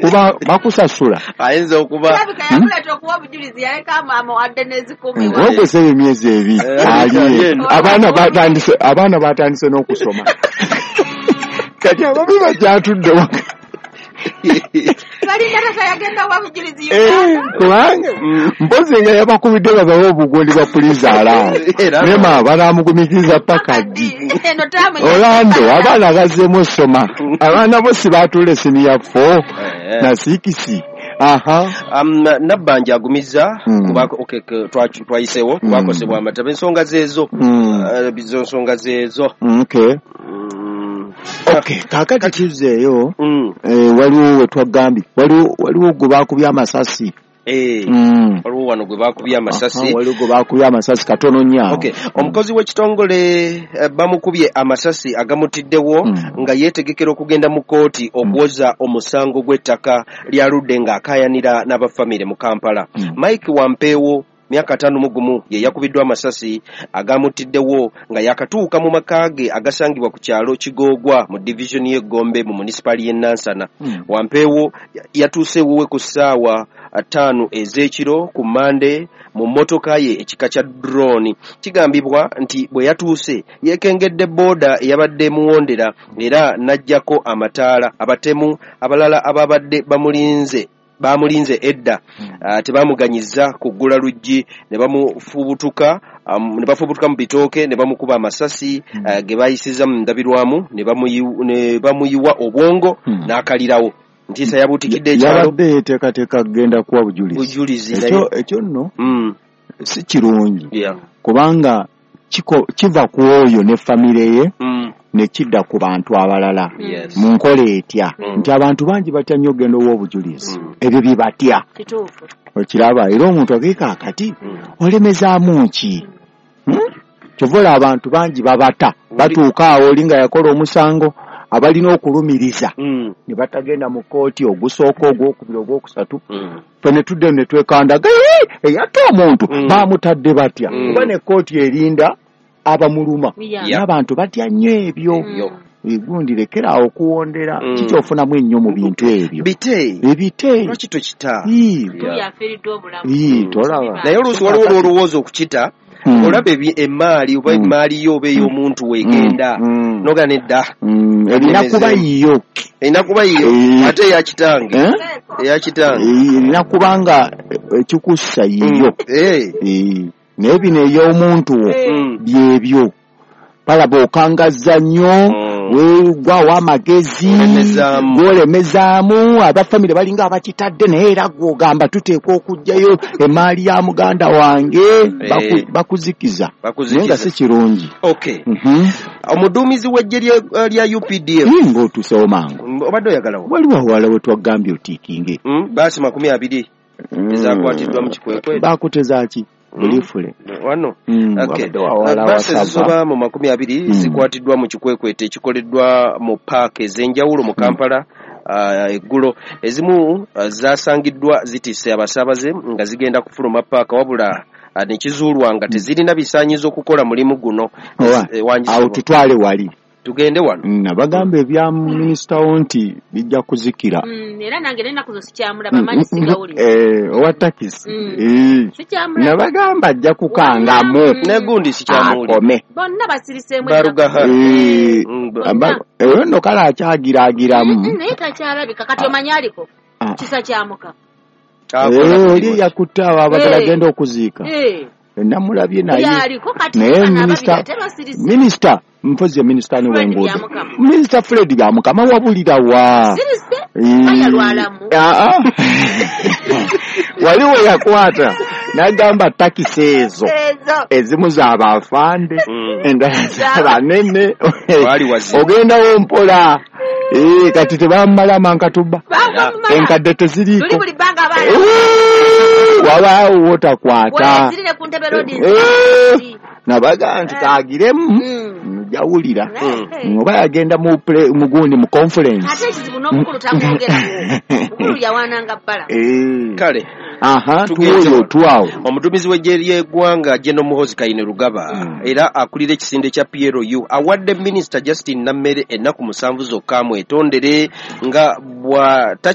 Kuba bakusasula. Ayinza okuba Kirabika yamuleeta okuwa obujulizi, yaleka amuwadde n'ezikumi. Ogweseba emyezi 2 Ali ali eno. Abaana batandise n'okusoma. Kati ababi bakyatudde waka. Balinda tata yagenda wa bujulizi Uganda. Kubanga mpozi nga yabakubidde babawe obugundi bwa pulizi alaawo. Era Nema banaamugumikiriza paka ddi? Eno taamu Orlando abaana bazzeemu osoma. Abaana bo si baatuula siniya 4 na 6. Aha. Nabbanja agumizza okay, twayiseewo kubakosebwa amataba, ensonga zeezo. Bizo nsonga zeezo. Okay. Okay, kaakati tuzzeeyo. Waliwo we twagambye, waliwo gwe baakubye amasasi. Waliwo wano gwe baakubye amasasi. Waliwo gwe baakubye amasasi katono nnyo awo. Okay. Omukozi w'ekitongole bamukubye amasasi agamutiddewo nga yeetegekera okugenda mu kkooti okuwoza omusango gw'ettaka lyaludde ng'akaayanira n'abafamire mu Kampala. Mike Wampeewo myaka 51 ye yakubiddwa amasasi agamutiddewo nga yakatuuka mu maka ge agasangibwa ku kyalo Kigoogwa mu divisioni y'e Gombe mu munisipaali y'e Nansana. Wampeewo yatuuse ewuwe ku ssaawa 5 ez'ekiro ku Mmande mu mmotoka ye ekika kya drone. Kigambibwa nti bwe yatuuse yeekengedde booda eyabadde emuwondera era n'aggyako amataala. Abatemu abalala ababadde bamulinze edda tebamuganyizza kuggula luggi ne bamufubutuka, ne bafubutuka mu bitooke ne bamukuba amasasi ge bayisizza mu ndabirwamu ne bamuyiwa obwongo n'akalirawo. Ntiisa yabuutikidde ekyalo. Yabadde yeeteekateeka kugenda kuwa bujulizi. Bujulizi naye. Ekyo nno si kirungi. Kubanga kiva ku oyo ne famire ye ne kidda ku bantu abalala. Mu nkola etya nti abantu bangi batya nnyo okugenda owa obujulizi. Ebyo bye batya. Kituufu. Okiraba era omuntu ageeka akati olemezaamu ki? Kyova olaba abantu bangi babata, batuuka awo oli nga yakola omusango abalina okulumiriza ne batagenda mu kkooti ogusooka, ogwokubiri, ogwokusatu. Ffe ne tudde ne twekandaga, eyatta omuntu baamutadde batya? Kuba ne kkooti erinda abamuluma. N'abantu batya nnyo ebyo. Egundi lekera awo okuwondera. Kikyofunamu ennyo mu bintu ebyo. Bite. Ebite. Lwaki tokita? Tuli afiiriddwa obulamu. Tolaba. Naye oluusi waliwo olw'olowooza okukita. Olaba emmaali oba emmaali yo oba ey'omuntu weegenda. N'ogamba nedda. Erina kuba yiyo. Erina kuba yiyo. Ate eya kitange. Eya kitange. Erina kuba nga ekikussa yiyo. Naye bino ey'omuntu wo byebyo. Balaba okangazza nnyo, weegwawo amagezi, gwolemezaamu, abafamire balinga abakitadde naye era gw'ogamba tuteekwa okuggyayo emmaali ya muganda wange, bakuzikiza. Naye nga si kirungi. Omuduumizi w'eggye lya UPDF. Ng'otuusewo mangu. Obadde oyagalawo? Waliwo awalala we twagambye otiikinge. Baasi 20 ezakwatiddwa mu kikwekwe. Baakuteza ki? Bulifule. Wano. Baasi ezisoba mu 20 zikwatiddwa mu kikwekweto ekikoleddwa mu paaka ez'enjawulo mu Kampala eggulo. Ezimu zasangiddwa zitisse abasaabaze nga zigenda kufuluma paaka wabula ne kizuulwa nga tezirina bisaanyizo kukola mulimu guno. Awo tutwale wali. Tugende wano. Nabagamba ebya minisita wo nti bijja kuzikira. Era nange n'ennaku zo sikyamulaba, manyi sigawulira. Owa takisi. Nabagamba ajja kukangamu. Negundi sikyamuwulira. Akome. Bonna basiriseemu Barugaha. Eyo nno kale akyagiraagiramu. Naye takyalabika kati omanyi aliko. Kisa kyamuka. Oli yakutte abo abagala agenda okuziika. Namulabye naye. Naye minisita mpozi minisita ni w'enguudo. Minisita Fred Byamukama wabulira wa. Waliwo yakwata n'agamba takisi ezo ezimu z'abafande endala z'abanene. Ogendawo mpola. Kati tebamala mankatuba. Enkadde teziriiko. Wabaawo wotakwata. Nabaga nti kaagiremu njawulira oba yagenda mugundi mu conference. Ate ekizibu n'omukulu tamwogerako. Mukulu yawaananga bbala. Kale. Tuwoyo otwawo. Omuduumizi w'eggye ly'eggwanga General Muhoozi Kainerugaba era akulira ekisinde kya PLU awadde Minisita Justin Nammere ennaku 7 zokka amwetondere nga bw'ata